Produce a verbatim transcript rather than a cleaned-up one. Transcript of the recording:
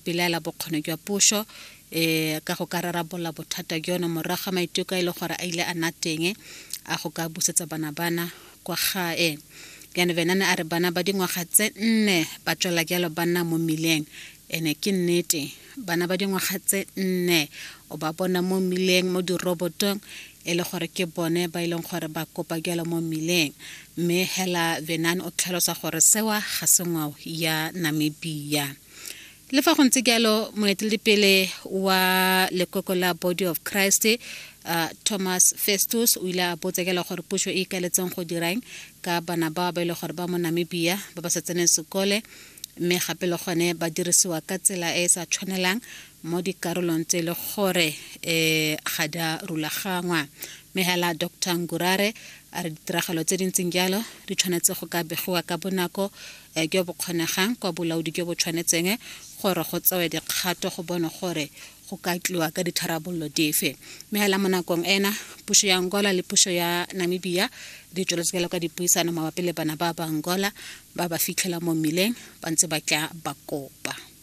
belaela bokgoni jwa puso um ka go ka rarabolola bothata jono morago ga maiteko a e le gore a ile a nna teng a go ka busetsa bana bana kwa gae. Jaanong Venane a re bana ba dingwaga tse nne ba tswela jalo ba nna mo mmileng. Ene ke nnete, bana ba dingwaga tse nne o ba bona mo mmileng, mo dirobotong, e le gore ke bone ba e leng gore ba kopa jalo mo mmileng. Mme hela Venan o tlhalosa gore sewa ga se ngwao ya Namibia. Le fa go ntse jalo, moeteledipele wa lekoko la Body of Christ, uh, Thomas Festus, o ile a botsa jalo gore puso e ikaeletseng go dirang ka bana bao ba e leng gore ba mo Namibia ba ba sa tseneng sekole, mme gape le gone ba dirisiwa ka tsela e e sa tshwanelang mo dikarolong tse e le gore um ga di a rulagangwa. Mme hela Doctor Ngurare a re ditiragalo tse di ntseng jalo di tshwanetse go ka begiwa ka bonako eh, jo bo kgonegang kwa bolaodi jo bo tshwanetseng gore go tsewe dikgato go bone gore go ka tliwa ka ditharabololo dife. Mme hela mo nakong ena, puso ya Angola le puso ya Namibia di tsweletse jalo ka dipuisano mabapi le bana ba ba Angola ba ba fitlhela mo mmileng ba ntse ba tla ba kopa.